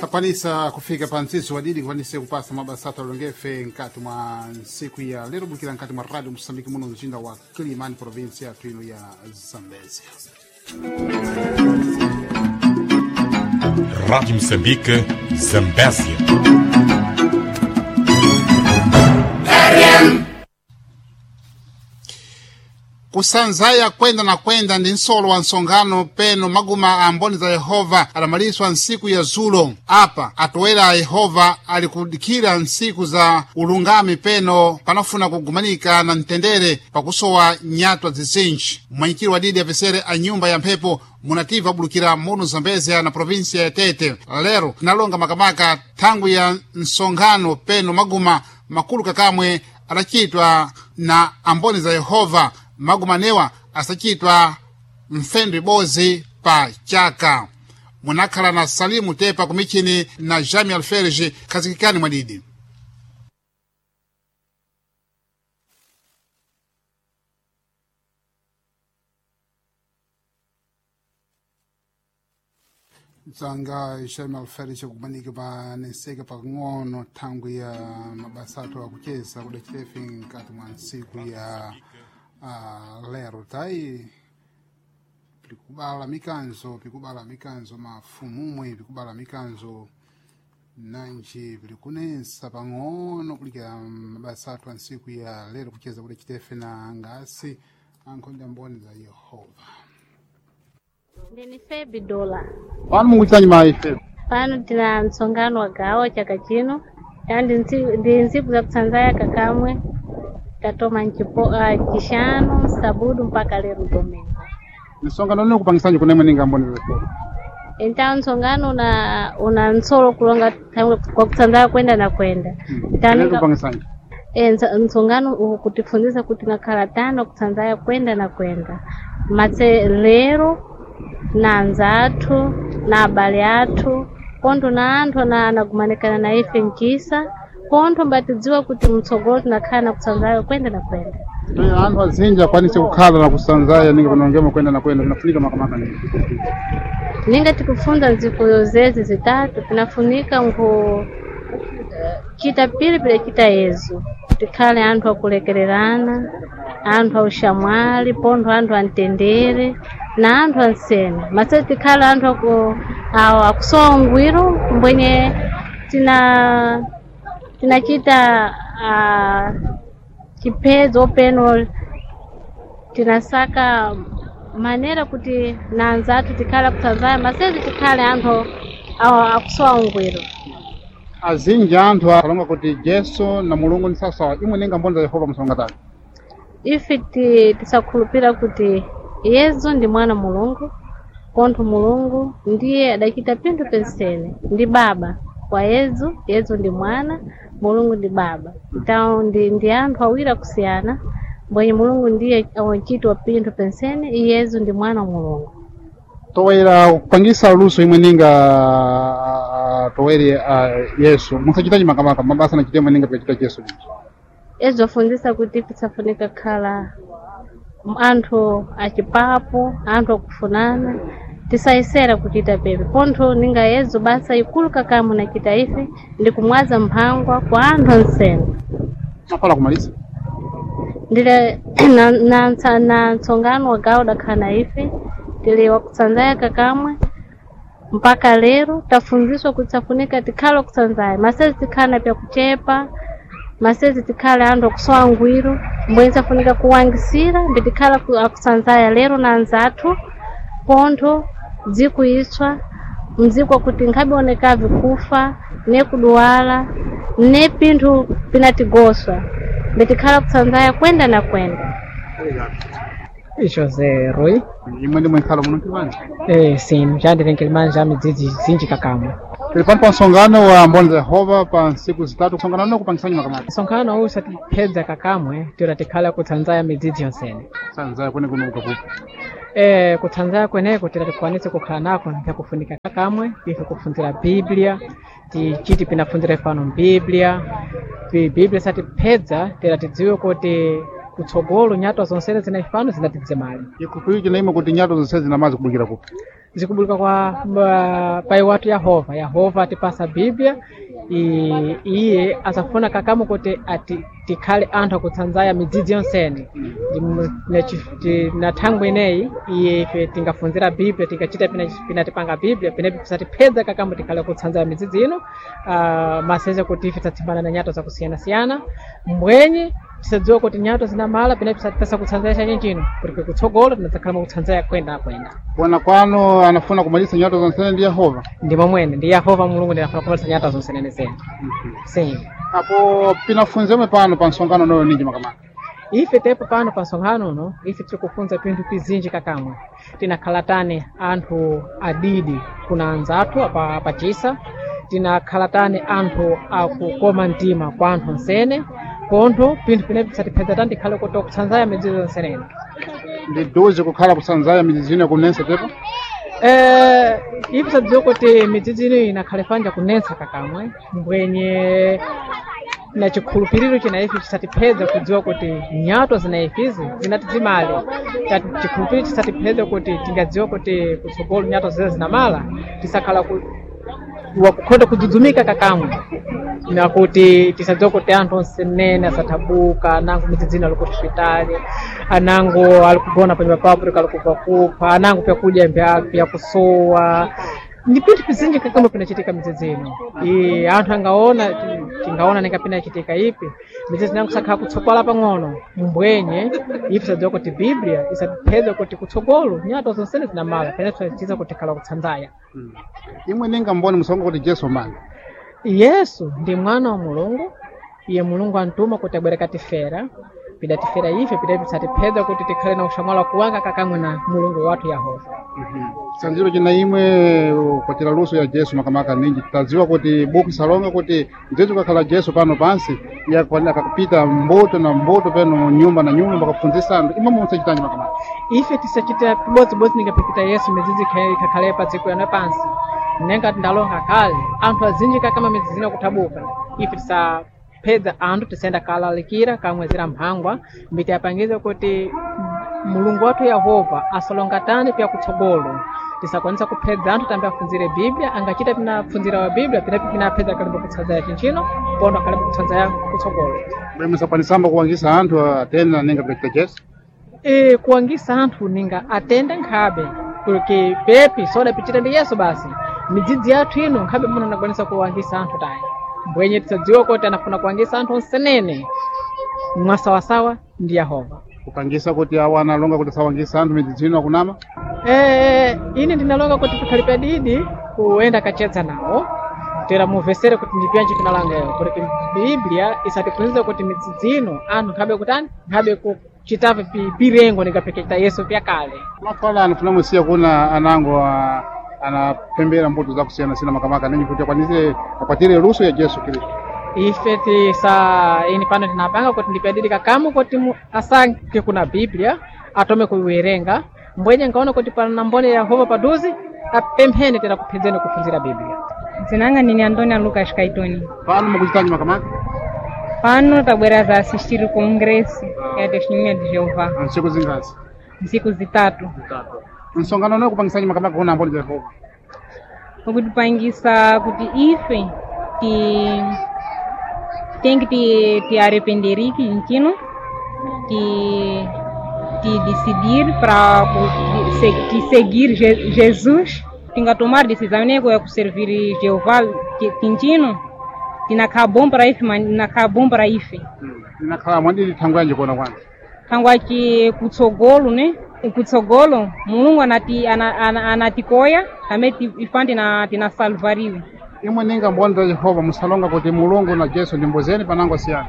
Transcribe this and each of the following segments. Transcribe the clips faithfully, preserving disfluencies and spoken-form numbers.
Takwanisa kufika pa mtsitsi wadidi kukwanise kupasa mabasa athu alongefe mkati mwa ntsiku ya lero bukira mkati mwa radio Moçambique muno mzinda wa Quelimane, província yathu ino ya Zambezia. Rádio Moçambique, Zambésia. Kusanzaya kwenda na kwenda ndi nsolo wa nsonkhano peno maguma a mboni za Yehova adamaliswa ntsiku ya zulo. Apa atowera a Yehova ali kudikira ntsiku za ulungami peno panafuna kugumanika na mtendere pakusowa nyatwa zizinji. Mmwanyikiro wa didi apesere a nyumba ya mphepo munativa abulukira muno Zambezia na provinsia ya Tete. Lero tinalonga makamaka thangwi ya nsonkhano peno maguma makulu kakamwe adachitwa na amboni za Yehova. Magumanewa asachitwa mfendo ibodzi pa chaka. Munakhala na Salimu Tepa kumichini na Jami Alferge. Khazikikani mwadidi. Mtsanga Jami Alferge kumanika pa nenseka pakang'ono thangwi ya mabasa athu akucheza kudachitefe mkati mwa ntsiku ya uh, lero tayi pikubala mikanzo pikubala mikanzo mafumumwe pikubala mikanzo nanji pilikunensa pang'ono kulikira mabasa athu a ntsiku ya lero kucheza kuti chitefe na ngasi ankhonda mboni za Yehova. Ndini Febi Dola. Pano mukuchitanyi mayi Febi? Pano tina msonkhano wa gawo chaka chino yani ndi ndi ntsiku za kutsanzaya kakamwe tatoma nchipo uh, chixanu sabudu mpaka lero domingo. Msonkhano lino kupangisanji kunemwe ninga mboni za Yehova? Então msonkhano una una nsolo kulonga thangwe kwa kutsanzaya kwenda na kwenda. Lero kupangisanji E, msonkhano ukutifundisa kuti nakhala tano kutsanzaya kwenda na kwenda matse lero na anza athu na abale athu kontho na anthu ana anagumanikana na ife mchisa kontho mbatidziwa kuti mtsogolo tinakhala na kutsanzaya kwenda na kwenda. Toyo anthu azinji akwanise kukhala na kusanzaya ninga panongemo kwenda na kwenda pinafunika makamaka nini? Ninga tikufunda nziku zezi zitatu tinafunika nku chita pilipili chita yezu tikhale anthu akulekererana, anthu aushamwali, pontho anthu amtendere na anthu ansene mase tikhale anthu aku awo akusowa ungwiro mbwenye tina tinachita uh, chiphedzo peno tinasaka manera kuti na anzathu tikhale akutsanzaya masezi tikhale anthu awo akusowa ungwiro. Azinji anthu alonga kuti Jesu na Mulungu ni sawasawa, imwe ninga mboni za Yehova msonga tani? Ife ti- tisakhulupira kuti Yesu ndi mwana Mulungu kontho Mulungu ndiye adachita pinthu pensene ndi baba kwa Yesu. Yesu ndi mwana, Mulungu ndi baba. Então ndi, ndi anthu awiri akusiyana mbwenye Mulungu ndiye wantchito wa pinthu pensene, Yesu ndi mwana wa Mulungu. Towera kupangisa luso imwe ninga ah, towere uh, Yesu musachitachi makamaka mabasa nachita imwe ninga pikachita Yesu. Yesu afundisa kuti tisafunika kukhala anthu achipapo, anthu akufunana, tisayesera kuchita pepe pontho ninga Yesu basa ikulu kakamwe nachita ife ndi kumwaza mphangwa kwa anthu ansene. Mapala kumalisa Ndile na, na, na, na mtsongano wa gawo dakhala na ife tili wakutsanzaya kakamwe mpaka lero tafunziswa kuti safunika tikhale wakutsanzaya masezi tikhale na pyakuchepa masezi tikhale anthu akusowa ngwiro mbwenye safunika kuwangisira mbi tikhale aku- akutsanzaya lero na anzathu pontho dziko itswa mdziko kuti nkhabioneka kufa ne kuduwala ne pinthu pinatigoswa mbi tikhala kutsanzaya kwenda na kwenda. José Rui. Imwe ndimwe nkhala muno Nkilimane? Eh, sim, já ndiri Nkilimane já midzidzi zinji kakamwe. Tili pano pa msonkhano wa mboni za Yehova pa ntsiku zitatu. Msonkhano uno kupangisanji makamaka? Msonkhano uwu usatiphedza kakamwe tira tikhala kutsanzaya midzidzi yonsene. Sanzaya kwene kuno ukapupa. Eh, kutsanzaya kweneko tira tikwanise kukhala nako mpyakufunika kakamwe ife kufunzira Biblia tichiti pinafunzira pano Biblia Biblia satiphedza tira tidziwe kuti Kutsogolo nyatwa zonsene zinafano zinatidzemale. Chikhulupiriro chinaima kuti nyatwa zonse zinamazi kubukira kupi? Zikubulika kwa uh, pai watu Yehova. Yehova atipasa Biblia, i- iye asafuna kakamu kuti ati tikhale anthu akutsanzaya midzidzi yonsene. Ndi- na chi- ti- na thangwi ineyi iye ife tingafunzira Biblia, tingachita pina pinatipanga Biblia pinepi pisatiphedza kakamu tikhale kutsanzaya midzidzi ino, uh, maseze kuti ife tatsimbana na nyatwa zakusiyanasiyana mbwenye tisadziwa kuti nyatwa zinamala pinepi pisatipesa kutsanzaya chachinchino kuti kutsogolo tinadzakhala mukutsanzaya kwenda kwenda. Kuona kwanu anafuna kumalisa nyatwa zonse ndi Yehova. Ndi momwene ndi Yehova Mulungu ndinafuna kumalisa nyatwa zonse nenezene. Sim. Apo pinafunzemwe pano pa msonkhano unoyo ninji makamaka? Ife tepo pano pa msonkhano uno ife tiri kufunza pinthu pizinji kakamwe. Tinakhala tani anthu adidi kuna anzathu apa pachisa, tinakhala tani anthu akukoma mtima kwa anthu onsene, pontho pinthu pinepi pisatiphedza tani tikhale kuti kutsanzaya midzidzi zonsenene. Ndi duzi kukhala kutsanzaya midzidzi ino kunensa tepo? Eh, ife sadziwa kuti midzidzi ino inakhale panja kunensa kakamwe mbwenye na chikhulupiriro china ife chisatiphedza kudziwa kuti nyatwa zina ifizi zinatidzimale. Tati chikhulupiriro chisatiphedza kuti tingadziwa kuti kutsogolo nyatwa zina zinamala tisakhala ku, wakukhonda kudzudzumika kakamwe nakuti tisadziwa kuti anthu onse nene asathabuka, anango midzidzina ali ku hospitali, anango ali kugona panyumba papo ali kubva kupha, anango pyakudya mbya pyakusowa. Ndi pinthu pizinji kakamwe pinachitika midzidzi ino. I anthu angaona tingaona ninga pinachitika ipi midzidzi nango sakhala kutsokwala pang'ono mbwenye ife sadziwa kuti Biblia isatiphedza kuti kutsogolo nyatwa zonsene zinamala pene tiza kuti khala kutsanzaya. Imwe ninga mboni musonga kuti Jesu mani. Yesu ndi mwana wa Mulungu, iye Mulungu antuma kuti abwere katifera, pidatifera ife pidapi tisatiphedza kuti tikhale na ushamwala kuwanga kakamwe na Mulungu wathu Yehova. Sanziro china imwe kwatira luso ya Jesu makamaka ninji tadziwa kuti buku salonga kuti mdzidzi ukakhala Jesu pano pansi yakwanira akakupita mbuto na mbuto peno nyumba na nyumba makafunzisa anthu imwe musachitanji makamaka. Ife tisachita pibodzibodzi ningapikita Yesu midzidzi ikha- ikhale pa dziko yano pansi. Nenga tindalonga kale anthu azinji kakama midzidzi ino kuthabuka. Ife tisaphedza anthu tisayenda kalalikira kamwezera mphangwa mbiti apangize kuti Mulungu wathu Yehova asalonga tani pya kutsogolo. Tisakwanisa kuphedza anthu tambe afunzire Biblia, angachita pinafunzira wa Biblia pinapi pinaphedza kalimba kutsanzaya chinchino pondo akalimba kutsanzaya kutsogolo. Bwe musakwanisamba kuwangisa anthu atenda ninga pikita Jesu. E, kuwangisa anthu ninga atende nkhabe porque pepi sodapichita ndi Yesu basi midzidzi yathu ino nkhabe muno anakwanisa kuwangisa anthu tayi mbwenye tisadziwa kuti anafuna kuwangisa anthu onsenene mwasawasawa ndi Yehova. Kupangisa kuti awo analonga kuti sawangisa anthu midzidzi ino akunama. Eh, ine ndinalonga kuti tikhale padidi kuyenda kachedza nawo tera muvesere kuti ndipyanji tinalangayo kuti Biblia isatiphunzitsa kuti midzidzi ino anthu nkhabe kutani nkhabe kuchitave pi- pirengo ningapeketa Yesu pyakale. Mafala anafuna musiya kuna anango ah, anapembera mbuto zakusiyana-siyana makamaka ninji kuti akwanise akwatire luso ya Jesu Kristu. Ife tisa ini pano tinapanga kuti ndipadidi kakamu kuti mu- asanke kuna Biblia atome kuiwerenga mbwenye ngaona kuti pana mboni ya Yehova paduzi apemphene tera kuphinzeni kuphunzira Biblia. Dzinanga ndine Antonia Lucas Kaitoni. Pano mukuchitanji makamaka? Pano tabwera za assistir o congresso ya Testemunha de Jeová, Ntsiku zingazi. ntsiku zitatu. Msonkhano uno kupangisanji makamaka kuna mboni za Yehova. Ukutipangisa kuti ife ti tem que te, te arrependeriki ntino, te, te decidir para te seguir Je, Jesus. Tinga tomar decisão né, é servir Jeová tintino, tinakhala bom para ife, tinakhala bom para ife. Inakhala mwadidi thangwi yanji kuona kwanu. Thangwaci kutsogolo ne kutsogolo Mulungu anati ana, ana, anatikoya amene ifa tina tinasalvariwe. Imwe ninga mboni za Yehova musalonga kuti Mulungu na Jesu ndi mbozeni panango asiyana.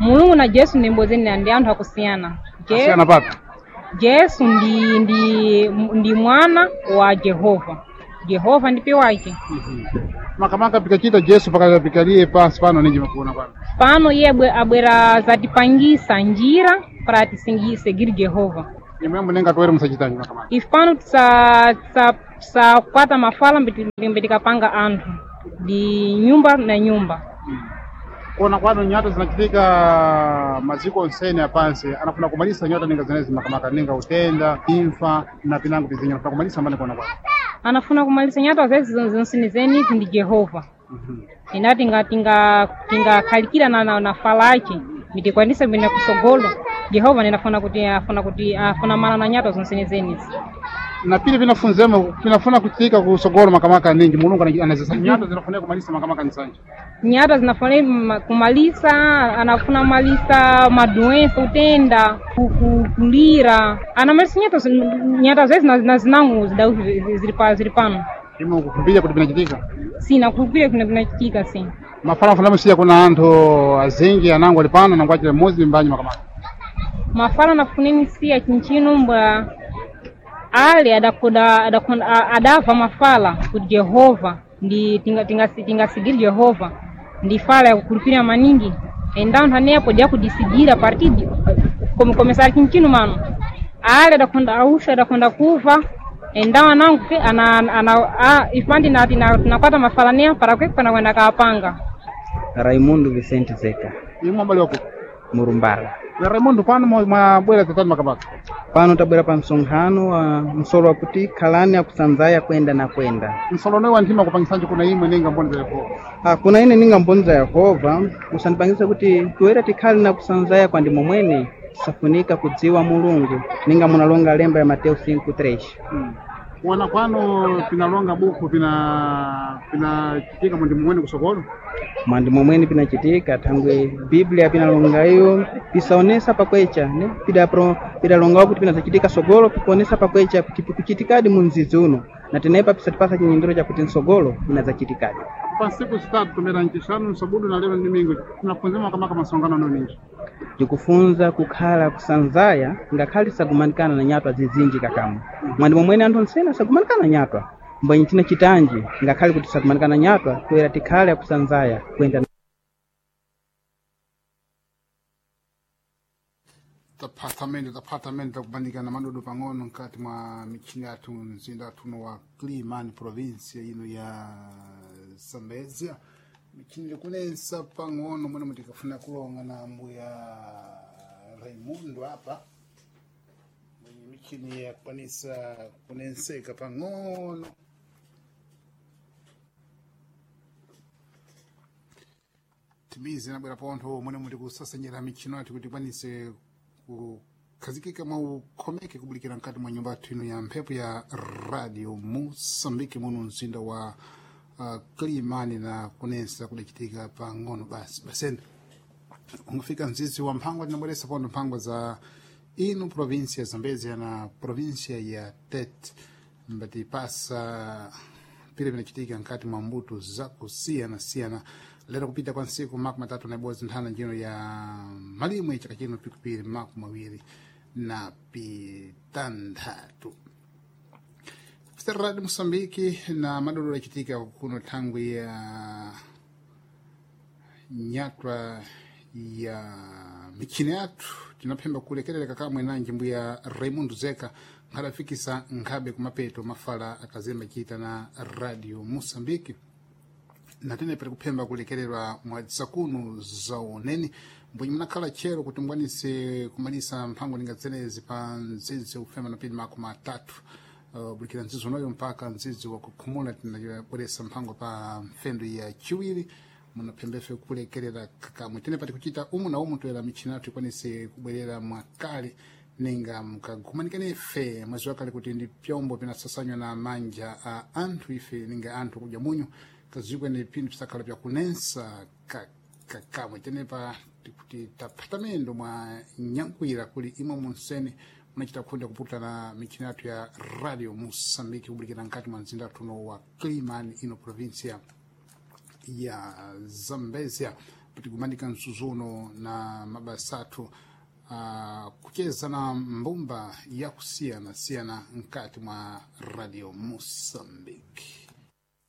Mulungu na Jesu ndi mbozeni ndi anthu akusiyana. Je, Asiyana papi. Jesu ndi ndi ndi mwana wa Jehova. Jehova ndipe wake. Makamaka pikachita Jesu pakapikaliye pansi pano ninji makuona kwanu. Pano iye abwe- abwera zatipangisa njira para tisingi seguir Jehova. Imwe munenga toere musachitanji makamaka. Ife pano tisa tisa tisakwata mafala mbiti- mbitikapanga anthu di nyumba na nyumba. Kuona kwanu nyata zinachitika maziko onsene apansi anafuna kumalisa nyata ninga zenezi makamaka ninga utenda imfa na pinango pizinga anafuna kumalisa mbani kuona kwanu Anafuna kumalisa nyatwa zezi zonsinizenizi ndi Jehova. Ina tinga tinga tingakhalikira na, na, na fala ace mitikwanisa bwina kusogolo. Jehova ninafuna kuti afuna kuti afuna mala na nyatwa zonsinizenizi. Na pili vinafunzemo vinafuna kuchitika kusogolo makamaka ningi mulungu ana- anazisa nyata zinafunika kumalisa makamaka nisanje Nyatwa zinafuna ma- kumalisa, anafuna malisa madoença, utenda, ku- ku- kulira. Anamalisa nyatwa zin- nyatwa zezi na, na zinango zidau zili pa zili pano. Imo kukumbia kuti vinachitika Sim, nakukhulupirira kuna vinachitika sim. Mafala afuna musiya kuna anthu azingi anango ali pano nangu achile muzi mbanyi makamaka Mafala nafuneni siya chinchino mbwa ale adakoda adakonda a- adava mafala kuti Jehova ndi tinga tinga tingasigiri Jehova ndi fala yakukhulupirira maningi então nthanepo diyakudisidira a partir de como começar chinchino mano ale adakonda ausha adakonda kuva então anangu ke ana ana a ifandi na tina tinakwata mafala nea para kwe pana kwenda kaapanga. Raimundo Vicente Zeka. Imwe mbali wako Murumbala. Ya Raimundo pano mwa- mwabwera tatani makamaka Pano tabwera pa msonkhano wa msolo wakuti khalani akusanzaya kwenda na kwenda. Msolo wa nthima kupangisanji kuna imwe ninga mboni za Yehova. Ah, kuna ine ninga mboni za Yehova usandipangisa kuti toera tikhale na kusanzaya kwa ndimo mwene tisafunika kudziwa Mulungu ninga munalonga lemba ya Mateo cinco três. Hmm. Kuona kwano pinalonga buku pina pinachitika mundi mumwene kusokolo Mwandimo mwene pinachitika thangwe Biblia pinalonga iyo pisaonesa pakwecha ne pidapro pidalongawo kuti pinazachitika sogolo pikuonesa pakwecha kuti pikuchitikadi mu mzizi uno na tenepa pisatipasa chinyindiro chakuti nsogolo pinazachitikadi. Pa nsiku zitatu tumera ncixanu nsabudu na lero ndimingo tinafunzema makamaka masongano ano ninji Ndikufunza kukhala kusanzaya ngakhale sagumanikana na nyatwa zizinji kakamwe mwandimo mwene anthu onsene asagumanikana na nyatwa mbwenye china chitanji ngakhale kuti sagumanikana na nyatwa toera tikhale akusanzaya kuyenda. Taphatamende taphatamende takubandikana madodo pang'ono mkati mwa michini yathu mzinda athuno wa Climane província ino ya Zambezia michini likunensa pang'ono mwene mutikafuna kulonga na mbuya Raimundo apa mwenye michini yakwanisa kunenseka pang'ono timizi nabwera pontho mwene muti kusasenyera michino yathu kuti ikwanise kukhazikika mwa ukhomeke kubulikira mkati mwa nyumba yathu ino ya mphepo ya radio Moçambique muno mzinda wa uh, Climane na kunensa kudachitika pang'ono basi baseni ungafika mzizi wa mphangwa tinabweresa pontho mphangwa za ino província ya Zambezia na província ya Tete mbatipasa pile vinachitika nkati mwa mbuto zakusiyana-siyana lero kupita kwa nsiku makumi matatu na ibodzi nthana njino ya malimwe chaka chino pikupiri makumi mawiri na pitanthatu Radio Moçambique na madodolo yachitika kuno thangwi ya nyatwa ya michini yathu tinaphemba kulekerereka kamwe nanji mbuya Raimundo Zeka nkhadafikisa nkhabe kumapeto mafala akazemba chita na Radio Moçambique natene pali kuphemba kulekererwa mwadzakuno zaoneni mbwenye munakhala tchero kuti mukwanise kumalisa mphango ninga zenezi pa mdzidzi ufema na pili makumi atatu uh, bulikira mdzidzi unoyo mpaka mdzidzi wakukhumula tinabweresa mphango pa mfendo ya chiwiri munaphembefe kulekerera kakamwe tene pati kuchita umu na umu toera michini yathu ikwanise kubwerera mwakale ninga mkagumanikane ife mwezi wakale kuti ndi pyombo pinasasanywa na manja a anthu ife ninga anthu kudya munyu kazikwe ni pinthu pisakhala pyakunensa kakamwe tenepa tikuti taphatamendo mwa nyankwira kuli imwe munsene munachita khunda kuputana michini yathu ya Radio Moçambique kubulikira mkati mwa mzinda tuno wa Climane ino província ya Zambezia patikumanika msuzuno na mabasa athu uh, kucheza na mbumba yakusiyana siyana mkati mwa Radio Moçambique.